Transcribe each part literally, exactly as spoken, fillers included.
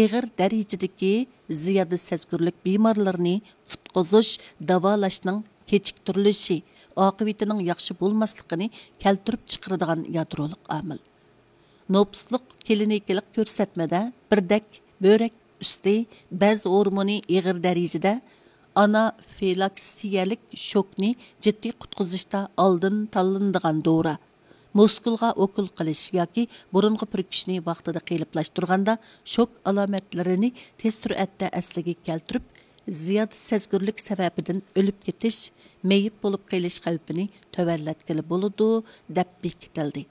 ئېغىر دەرىجىدىكى زىيادە سەزگۈرلۈك بىمارلىرىنى قۇتقۇزۇش، داۋالاشنىڭ كېچىكتۈرۈلۈشى ئاقىۋىتىنىڭ ياخشى بولماسلىقىنى كەلتۈرۈپ چىقىرىدىغان يادرولۇق ئامىل. نوپۇسلۇق كلىنىكىلىق كۆرسەتمىدە بىردەك بۆرەك ئۈستى بەز ھورمونى ئېغىر دەرىجىدە ئانافىلاكسىيەلىك شوكنى جىددىي قۇتقۇزۇشتا ئالدىن تاللىنىدىغان دورا، مۇسكۇلغا ئوكۇل قىلىش ياكى بۇرۇنغا پۈركۈشنى ۋاقتىدا قېلىپلاشتۇرغاندا شوك ئالامەتلىرىنى تېز سۈرئەتتە ئەسلىگە كەلتۈرۈپ، زىيادە سەزگۈرلۈك سەۋەبىدىن ئۆلۈپ كېتىش، مېيىپ بولۇپ قېلىش خەۋپىنى تۆۋەنلەتكىلى بولىدۇ، دەپ بېكىتىلدى.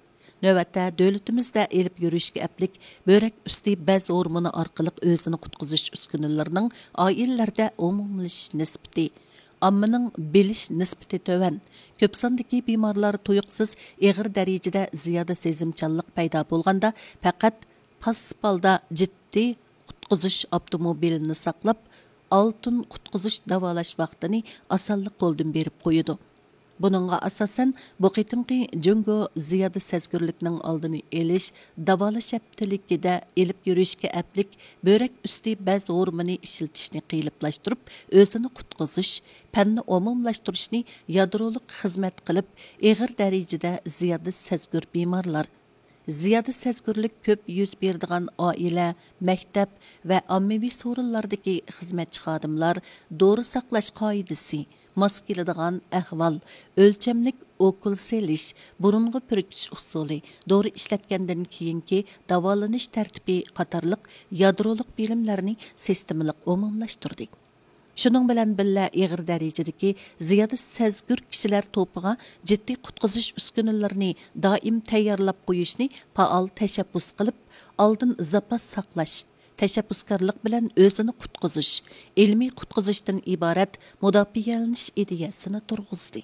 نۆۋەتتە، دۆلىتىمىزدە ئېلىپ يۈرۈشكە ئەپلىك بۆرەك ئۈستى بەز ھورمونى ئارقىلىق ئۆزىنى قۇتقۇزۇش ئۈسكۈنىلىرىنىڭ ئائىلىلەردە ئومۇملىشىش نىسبىتى، ئاممىنىڭ بىلىش نىسبىتى تۆۋەن، كۆپ ساندىكى بىمارلار تۇيۇقسىز ئېغىر دەرىجىدە زىيادە سېزىمچانلىق پەيدا بولغاندا، پەقەت پاسسىپ ھالدا جىددىي قۇتقۇزۇش ئاپتوموبىلىنى ساقلاپ، ئالتۇن قۇتقۇزۇش داۋالاش ۋاقتىنى ئاسانلا قولدىن بېرىپ قويىدۇ. بۇنىڭغا ئاساسەن، بۇ قېتىمقى جۇڭگو زىيادە سەزگۈرلۈكنىڭ ئالدىنى ئېلىش، داۋالاش ھەپتىلىكىدە ئېلىپ يۈرۈشكە ئەپلىك بۆرەك ئۈستى بەز ھورمونى ئىشلىتىشنى قېلىپلاشتۇرۇپ، ئۆزىنى قۇتقۇزۇش، پەننى ئومۇملاشتۇرۇشنى يادرولۇق خىزمەت قىلىپ، ئېغىر دەرىجىدە زىيادە سەزگۈر بىمارلار، زىيادە سەزگۈرلۈك كۆپ يۈز بېرىدىغان ئائىلە، مەكتەپ ۋە ئاممىۋى سورۇنلاردىكى خىزمەتچى خادىملار، دورا ساقلاش قائىدىسى، ماس كېلىدىغان ئەھۋال، ئۆلچەملىك ئوكۇل سېلىش، بۇرۇنغا پۈركۈش ئۇسۇلى، دورا ئىشلەتكەندىن كېيىنكى داۋالىنىش تەرتىپى قاتارلىق يادرولۇق بىلىملەرنى سىستېمىلىق ئومۇملاشتۇردى. شۇنىڭ بىلەن بىللە، ئېغىر دەرىجىدىكى زىيادە سەزگۈر كىشىلەر توپىغا جىددىي قۇتقۇزۇش ئۈسكۈنىلىرىنى دائىم تەييارلاپ قويۇشنى پائال تەشەببۇس قىلىپ، ئالدىن زاپاس ساقلاش، تەشەببۇسكارلىق بىلەن ئۆزىنى قۇتقۇزۇش، ئىلمىي قۇتقۇزۇشتىن ئىبارەت مۇداپىئەلىنىش ئىدىيەسىنى تۇرغۇزدى.